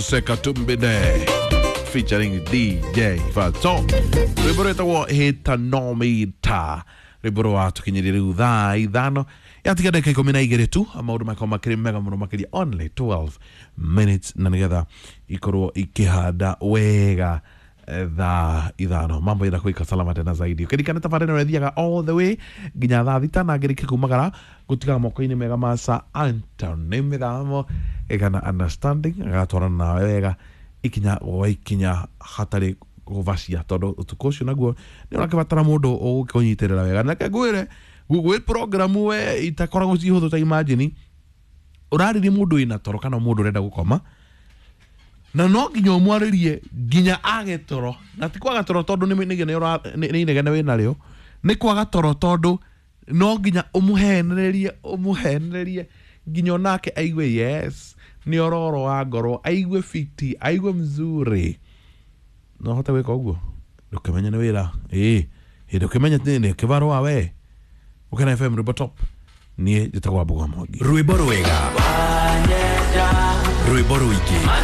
Sekatumbide featuring DJ Fato, rwimbo rwĩtagwo Hĩtanomita, rwimbo rwatũkinyĩrie rĩu thaa 5 yatiga ndagĩka 12 tu. Maũndũ makorwo makĩrĩ mega mũno makĩria, only 12 minutes, na nĩgetha ikorwo ikĩhanda wega thaa 5, mambo ĩra kuika salama tena zaidi. Ukirikana tabarĩra ĩno ĩthiaga all the way nginya thaa 6 na ngĩrĩkia kumagara gũtigaga moko-inĩ mega ma Sir Anthony Mĩthamo ĩgana understanding, agatwarana nawe wega ikinya gwa ikinya hatarĩ gũbacia, tondũ ũtukũ ũcio naguo nĩ ũrakĩbatara mũndũ ũgũkũnyitĩrĩra wega. Na reke ngwĩre, gwĩ program we itakoragwo ci hũthũ. Ta imagine ũrarĩria mũndũ wĩna toro kana mũndũ ũrenda gũkoma, na no nginya ũmwarĩrie nginya age toro, na ti kwaga toro tondũ nĩ inegene wĩ narĩo, nĩ kwaga toro tondũ no nginya ũmũhenererie, ũmũhenererie nginya onake aigue yes, nĩ ororo wa ngoro, aigue fiti, aigue mzuri. No hote gwĩka ũguo, ndũkĩmenye nĩ wĩra ĩĩ hĩndĩ ũkĩmenye nĩ kĩbarũa we. Ũkena FM, rwĩmbo top. Niĩ njĩtagwo Wambũgwa Mwangi. Rwĩmbo rwega, rwĩmbo rũingĩ.